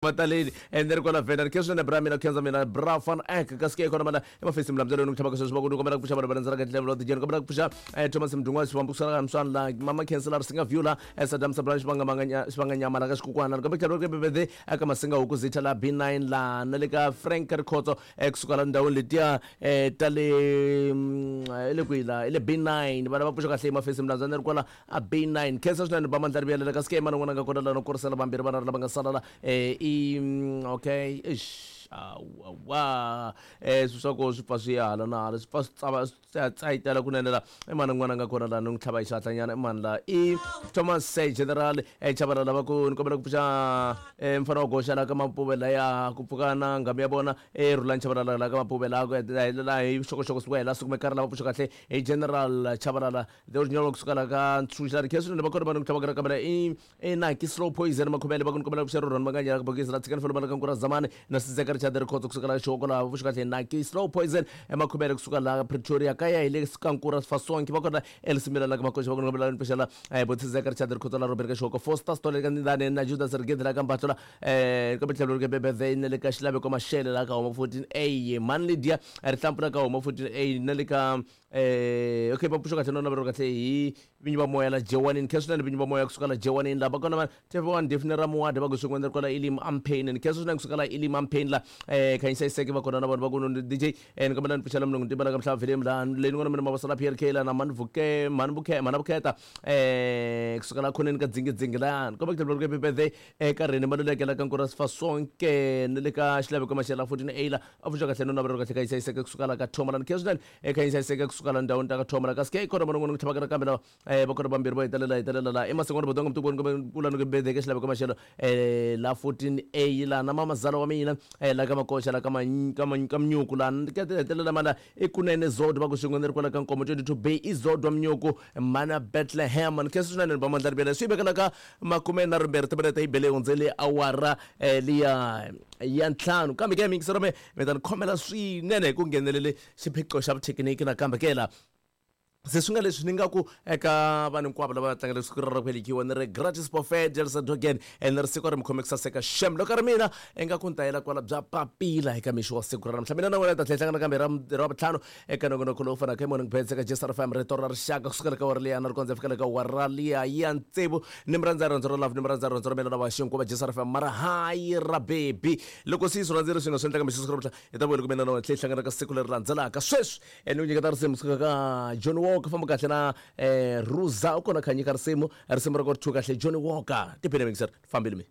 Mataleni ende ri kwala venda khe swinene bra mina khenza mina bra fan ek kasi ke kona mana emafesi mlambyelo ni ku tlhava ka sweswi va ku ni kombela ku pfuxa vanhu va rhendzela ka tindlela ta tijeni kombela ku pfuxa Thomas Mdungwa xivambu ku sala mswana la mama khensela ri singa view la Saddam Sabra xivanga manganya xivanga nyama la ka xikukwana kambe tlhelo ke bebede eka masinga huku zitha la B9 la na le ka Frank Rikhotso kusuka la ndhawini letiya ta le le kwihi la le B9 vana va pfuxa kahle emafesi mlambyelo ni ri kwala a B9 khensa swinene ba mandla rivuyelela kasi ke mana n'wana nga kona la no kurisela vambirhi vana lava nga sala la i okay eish awa swilo swa koho swi pfa swi ya hala na hala swi pfa swi tsava swi tsayitela kunene la i mani n'wana nga kona la ni n'wi tlhava hi xihatlanyana i mani la i Thomas Say General Chabalala lava ku ni kombela ku pfuxa mfana wa goxa la ka Mapuve laya ku pfuka na nghamu ya vona Rhulani Chabalala la ka Mapuve la ku hetelela hi vuxokoxoko siku hela siku mekari lava pfuxa kahle hi General Chabalala The original kusuka la ka ntshunxi la ri khensa swinene va kona vanhu ku tlhava ka kambe i i naki slow poison makhomele va ku ni kombela ku xerhu rhona manganya la ka bokisi la tshikani felo ka nkura zamani na sizeka richard rikhotso kusuka la xoko la vuxi kahle naki slow poison emakhomele kusuka la Pretoria kaya hi le ka nkura fasonki va kona elsimila la ka makoxa va ku ni kombela ni pfuxela botsizeka richard rikhotso la Robert ka xoko Foster Stole ka ndane na Judas Rigedi la ka Mbatlo la kambe tlhelo ri ke bebeve na le ka xilaveko Mashele la ka homa 14A Man Lydia rihlampfu la ka homa 14A na le ka okay va pfuxa kahle nona va ri kahle hi vinyi va moya la jewanini khensa swinene vinyi va moya kusuka la jewanini la va kona va TV1 Daphne Ramuwadi va ku swin'we ri kwala Elim Ampain ni khensa swinene kusuka la Elim Ampain la Khanyisa Iseke va kona na vanhu va ku DJ ni kombela ni pfuxela mulungu ntimba la ka mhlava vhelemi la leyi ni ngona mina mavasa la PRK la na mani vuke mani vuke mana vukheta kusuka la khoneni ka dzingidzingi la ni kombela ku tlhela ku birthday eka Rene Maluleke la ka Nkura Sifasonke ni le ka Xilaveko Mashela 14 A la a pfuxa kahle nona va ri kahle Khanyisa Iseke kusuka la ka Thoma la ni khensa swinene eka yi hlayiseka kusuka la ndhawini ta ka thoma la kasi ke kona van'wana ku tlhavaka nakambe lava va kona vambirhi va hetelela hetelela la emasin'wana bodonga mtukweni kumbe kula ni ku bedeke xilaveko maxelo la 14 a la na mamazala wa mina la ka makoxa la ka ka mnyuku la ka hetelela mala i kunene zodwa va ku swin'we ni ri kwala ka nkomo 22 bay i zodwa mnyuku mana Bethlehem ni khensa swinene ni ba mandla rivele swi vekela ka makume na rimbirhi timinete yi bele hundzele awara liya ya ntlhanu kambe ke miyingiselo me mi ta ni khomela swinene hi ku nghenelele xiphiqo xa vuthekiniki nakambe ke la se swi nga leswi ni nga ku eka vanhu hinkwavo lava tlangela siku ra ku velekiwa ni ri gratis buffet Delsa Dogen ene ri siku ri mi khome ku saseka shem loko ri mina ingaku ni ta yela kwala bya papila eka mixo wa siku ra namuntlha mina na wena ta tlhela hlangana kambe ra vutlhanu eka nongonoko lowu fanaka hi morning bets eka JSR FM rito ra rixaka kusukela ka wara liya na ri kondza fikela ka wara liya ya tsevu ni mi rhandza rhandzu ra love ni mi rhandza rhandzu ra mina na va xinkuva JSR FM mara hayi ra baby loko se yi swi rhandzile swi nga swi endlaka mixo siku ra namuntlha hi ta vuyela kumbe na wena tlhe hi hlangana ka siku leri landzelaka sweswi ni ku nyiketa risimu kusuka ka Johnny Walker famba kahle na Ruza u kona kha nyika risimu risimu ra ku ri thu kahle Johnny Walker tiphine mixer fambile mi.